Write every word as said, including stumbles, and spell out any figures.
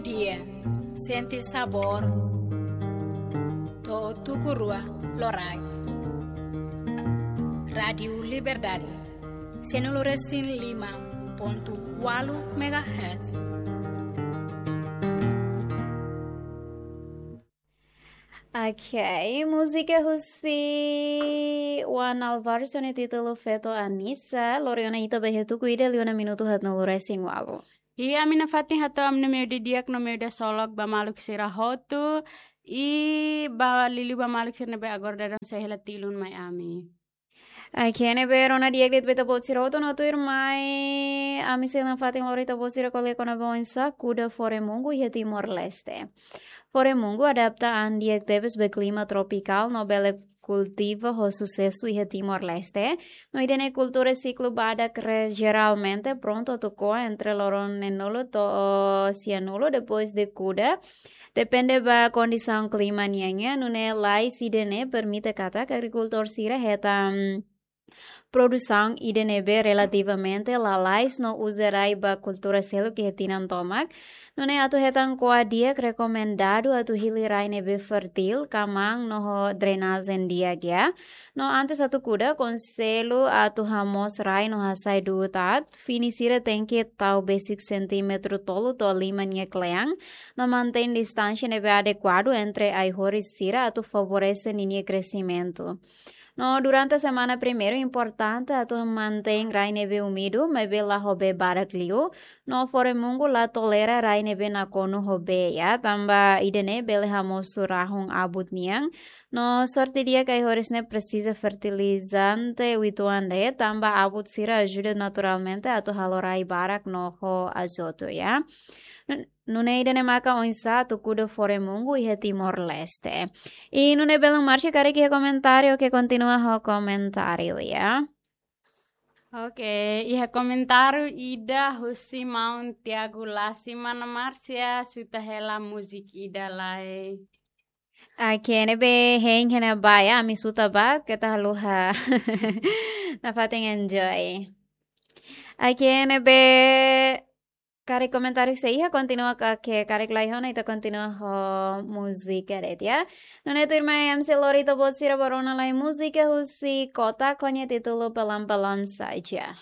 Dia, sente sabór, to'o tuku rua loraik. Rádiu Liberdade, sianulu resin lima pontu ualu megahertz. Ok, múzika husi Juan Alvarez ho nia títulu Feto Anisa, lori ona ita ba iha tuku ida liu ona minutu haatnulu resin ualu. Iha ami nafatin hato'o ami-nia meiudia di'ak no meiudia solok ba maluk sira hotu, i ba liuliu ba maluk sira ne'ebé agora daudaun sei hela tilun mai ami. Ok, ne'ebé rona di'ak de'it ba ita-boot sira hotu no tuirmai, ami sei nafatin lori ita-boot sira ko'alia kona-ba oinsá kuda Foremungu iha Timor-Leste. Foremungu adapta an di'ak tebes ba klima tropikál no bele kultiva ho susesu iha Timor-Leste. No ida-ne'e kultura siklu badak re-, jeralmente prontu atu ko'a entre loron neenulu to'o sianulu depois de kuda. Depende ba kondisaun klima nian, nune'e lais ida-ne'e permite katak agrikultór sira hetan produsaun ida ne'ebé relativamente lalais no uza rai ba kultura seluk iha tinan tomak. Nune'e atu hetan ko'a di'ak rekomendadu atu hili rai ne'ebé fertil, kamaan no ho drenajen di'ak, ya. No antes atu kuda, konsellu atu hamoos rai no hasai du'ut aat, fini sira tenke tau besik sentímetru tolu to'o lima nia kle'an, no mantein distánsia ne'ebé adekuadu entre ai-horis sira atu favorese ninia kresimentu. No durante semana primeiru importante atu mantein rai ne'ebé úmidu, maibé la ho bee barak liu, no Foremungu la tolera rai ne'ebé nakonu ho bee, ya, tanba ida-ne'e bele hamosu rahun abut nian. No sorte di'ak ai-horis ne'e presiza fertilizante uitoan de'it, tanba abut sira ajuda naturalmente atu halo rai barak no ho azotu, ya. Nun-, nune'e ida-ne'e maka oinsá atu kuda Foremungu iha Timor-Leste. I nune'e belun Márcia karik iha komentáriu, oke, kontinua ho komentáriu, ya. Oke, iha komentáriu ida husi maun Tiago Lasi, mana Márcia, suta hela múzika ida lai. Oke, ne'ebé hein hena ba, ya, ami suta ba, keta haluha. Nafatin enjoy. Oke, ne'ebé karik komentáriu sei iha, kontinua ka, ke karik la iha ona, ita kontinua ho múzika de'it, ya. Nune'e tuirmai ami sei lori ita-boot sira ba rona lai múzika husi Kotak ho nia títulu Pelan-Pelan Saja.